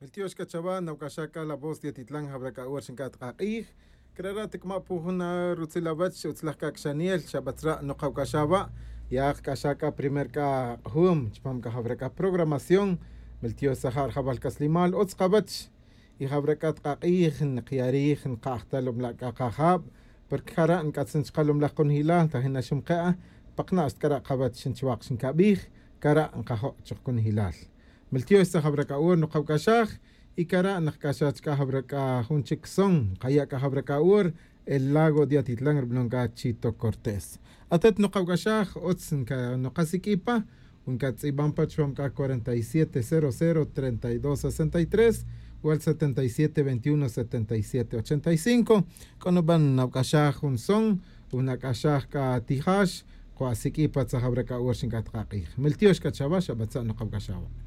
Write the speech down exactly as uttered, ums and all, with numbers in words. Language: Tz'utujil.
Miltiox c'a chawa nawc'axaj c'a la voz de atitlan jawra c'a ora xinc'at k'ak'ij. Crara' tac'ama' pu jun rutzil awach utzlaj c'a cxaniel xabatzra' nokawc'axaj wa'. Ya kc'axaj c'a primer c'a k'ajum chupam c'a jawra c'a programación. Miltiox tzaja' rajawal c'aslimal utz kawach. Y jawra c'a tk'ak'ij nkaya' rij nka'aj ta lomla' c'a kajab. Porque jara' nc'atzin chka lomlaj conojilal ta jina xumke'a. Pakna' xtk'ara' kawach xinchwak xincabij. Cara' nkajo' chuk conojilal. Miltiox tzaja' jawra c'a ora nokawc'axaj. Y cara' nkac'axaj chka jawra c'a jun chic son nkaya' c'a jawra c'a ora. El lago de atitlan rub'anon c'a chito cortés. Atet nokawc'axaj utz nkasik'i pa. Nkatz'iban pa chupam c'a cuarenta y siete cero cero treinta y dos sesenta y tres. Wal setenta y siete veintiuno setenta y siete ochenta y cinco. C'o nuban nawc'axaj jun son. Wnak'axaj c'a tijax. Cua' sik'i pa tzaja' jawra c'a ora xinc'at k'ak'ij miltiox c'a chawa xabatza' nokawc'axaj wa'.